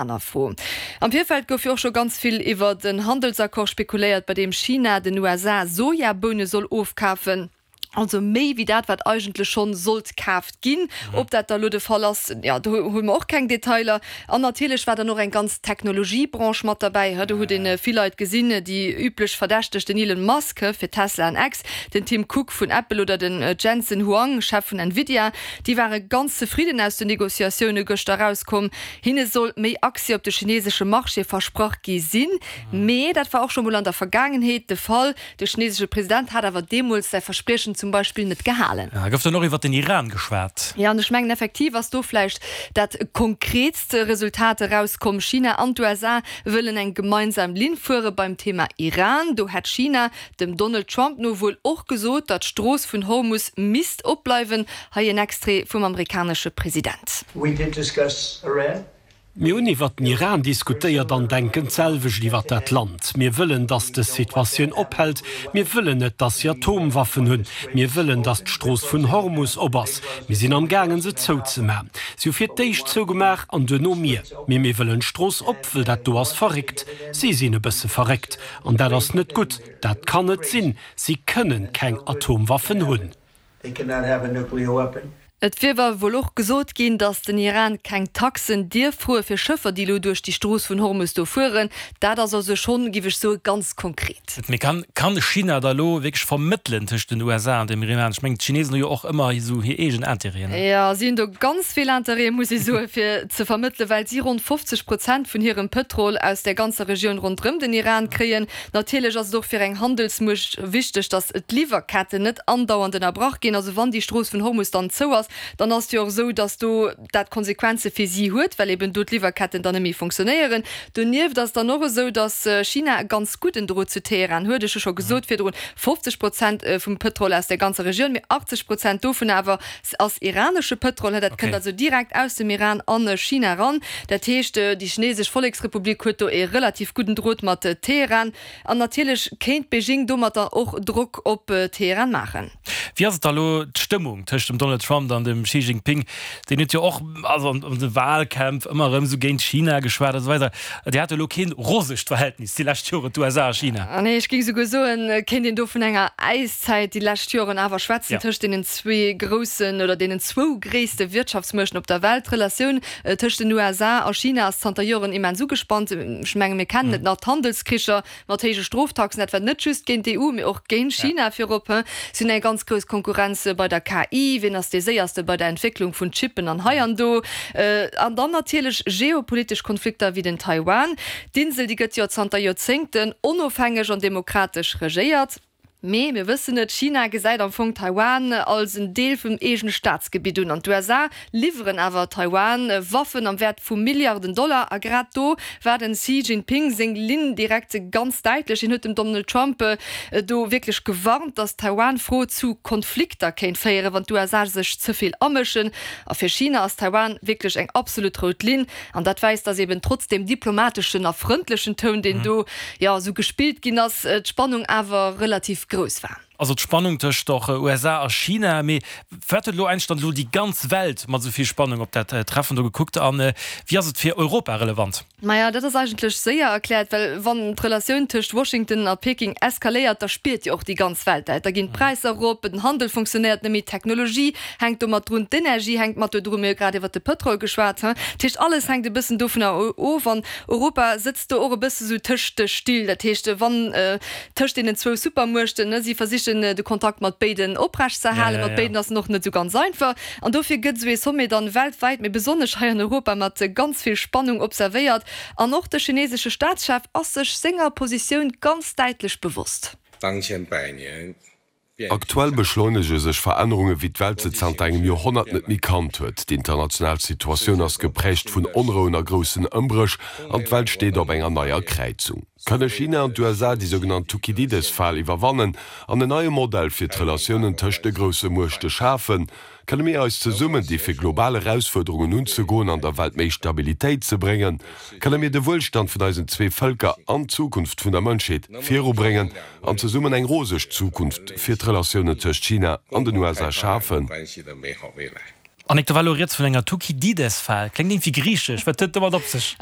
Aner Fro. Am Virfeld gouf jo och scho ganz vill iwwert en Handelsaccord spekuléiert, bei deem China den USA Sojaboune soll ofkafen. Also méi wéi dat, wat eigentlech schonn sollt kaaft ginn. Ob dat da elo de Fall ass, jo, do hu mer och keng Detailer. An natierlech war dann och eng ganz Technologiebranche mat derbäi. Do huet ee vill Leit gesinn, déi üblech Verdächteg, den Elon Musk fir Tesla an X, den Tim Cook vun Apple oder den Jensen Huang, Chef vun Nvidia. Déi ware ganz zefridden aus den Negociatioune gëschter erauskomm. Hinne soll méi Accès op de chinesesche Marché versprach gi sinn. Mee dat war och scho mol an der Vergaangenheet de Fall. De chinesesche President hat awer deemools säi Verspriechen zum Beispill net gehalen. Gouf dann och iwwer den Iran geschwat? Jo, an ech mengen effektiv ass do vläicht dat konkretst Resultat erauskomm. China an d'USA wëllen eng gemeinsam Linn fuere beim Thema Iran. Do hätt China dem Donald Trump no wuel och gesot, datt d'Strooss vun Hormus misst opbleiwen. Hei en Extrait vum amerikanesche President. We did discuss Iran. Mir hunn iwwert den Iran diskutéiert an denken d'selwecht iwwert dat Land. Mir wëllen, datt dës Situatioun ophält. Mir wëllen net, datt si Atomwaffen hunn. Mir wëllen, datt d'Strooss vun Hormus op ass. Mir sinn amgaangen, se zouzemachen. Si hu fir d'éischt zougemaach an duerno mir. Mee mir wëllen d'Strooss op, wëll dat do ass verréckt. Si sinn e bësse verréckt. An dat ass net gutt. Dat kann net sinn. Si kënnen keng Atomwaffen hunn. They cannot have a nuclear weapon. Et wier awer wuel och gesot ginn, datt den Iran keng Taxen dierf froe fir Schëffer, déi elo duerch déi Strooss vun Hormus do fueren. Dat ass also schonn, giff ech soen, ganz konkret. Mee kann kann China da elo wierklech vermëttelen tëscht den USA an dem Iran? Ech mengen, d'Chinesen hu jo och ëmmer esou hir eegen Interêten. Jo, si hunn do ganz vill Interêten, muss ee soen, fir ze vermëttelen, well si ronn 50 Prozent vun hirem Pëtrol aus där ganzer Regioun ronderëm den Iran kréien. Natierlech ass et och fir eng Handelsmuecht wichteg, datt d'Liwwerketten net andauernd ënnerbrach ginn. Also wann déi Strooss vun Hormus dann zou ass, dann ass et jo och esou, datt do dat Konsequenze fir si huet, well eben do d'Liwwerketten dann net méi funktionéieren. Donieft ass et dann och esou, datt China e ganz gudden Drot zu Teheran huet. Ech hu scho gesot virdrun, 50 Prozent vum Pëtrol aus der ganzer Regioun, mee 80 Prozent dovun awer ass iranesche Pëtrol. Dat kënnt also direkt aus dem Iran an China eran. Dat heescht, déi chinesesch Volleksrepublik huet do ee relativ gudden Drot mat Teheran. An natierlech kéint Beijing domatter och Drock op Teheran maachen. Wéi ass et da elo d'Stëmmung tëscht dem Donald Trump an dem Xi Jinping? Deen huet jo och also an de Wahlkämpf ëmmer erëm esou géint China geschwat a sou weider. Déi hate elo keen rosegt Verhältnis déi lescht Joren, d'USA a China. Nee, ech géing souguer soen, et kéint een do vun enger Äiszäit déi lescht Joren awer schwätzen tëscht deenen zwee groussen oder deenen zwou gréisste Wirtschaftsmuechten op der Welt. D'Relatioun tëscht den USA a China ass zanter Joren immens ugespannt. Ech menge mir kennen et nach, d'Handelskricher mat héije Stroftaxen, dat war net just géint d'EU, mee och géint China virop. Si hunn eng ganz grouss Konkurrenz bei der KI, wien ass dee Séierste bei der Entwécklung vun Chippen an hei an do. An dann natierlech geopolitesch Konflikter wéi den Taiwan. D'Insel, déi gëtt jo zanter Joerzéngten onofhängeg an demokratesch regéiert. Mee mir wëssen et, China gesäit am Fong Taiwan als en Deel vum eegene Staatsgebitt un. An d'USA liwweren awer Taiwan Waffen am Wäert vu Milliarden Dollar. A grad do war den Xi Jinping seng Linn direkt ganz däitlech. Hien huet dem Donald Trump do wierklech gewarnt, datt d'Taiwan-Fro zu Konflikter kéint féieren, wann d'USA sech ze vill amëschen. A fir China ass Taiwan wierklech eng absolut rout Linn. An dat weist, dass eben trotz deem diplomateschen a frëndlechen Toun, deen do jo esou gespillt ginn ass, d'Spannung awer relativ grouss war. Also d'Spannung tëscht och USA a China. Mee firwat huet elo eigentlech dann elo déi ganz Welt mat esou vill Spannung op dat Treffen do gekuckt? A wéi ass et fir Europa relevant? Maja, dat ass eigentlech séier erkläert, well wann d'Relatioun tëscht Washington a Peking eskaléiert, da spiert jo och déi ganz Welt dat. Da ginn d'Präisser erop, den Handel funktionéiert net méi, d'Technologie hänkt do mat drun, d'Energie hänkt mat do drun, mir hu grad iwwert de Pëtrol geschwat, he. Dat heescht, alles hänkt e bëssen dovunner of an Europa sëtzt do och e bësse sou tëscht de Still. Dat heescht, wann tëscht deenen zwou Supermuechten, ne, si versichen de Kontakt mat béiden oprecht ze erhalen, mat béiden ass en och net esou ganz einfach an dofir gëtt esou ee Sommet dann weltwäit, mee besonnesch hei an Europa mat ganz vill Spannung observéiert an och de chinesesche Staatschef ass sech senger Positioun ganz däitlech bewosst. Aktuell beschleunege sech Verännerunge wéi d'Welt se zanter engem Joerhonnert net méi kannt huet. D'international Situatioun ass geprägt vun Onrouen a groussen Ëmbréch an d'Welt steet op enger neier Kräizung. Kënne China an d'USA déi sougenannt Thukydides-Fal iwwerwannen an en neie Modell fir d'Relatiounen tëscht de grousse Muechte schafen? Kënne mir eis zesummen di fir global Erausfuerderungen unzegoen an der Welt méi Stabilitéit ze bréngen? Kënne mir de Wuelstand vun eisen zwee Vëlker an d'Zukunft vun der Mënschheet virubréngen an zesummen eng roseg Zukunft fir d'Relatiounen tëscht China an den USA schafen? Annick, do war elo rieds vun enger Thukydides-Fal. Kléngt iergendwéi griichesch. Wat huet et domat op sech?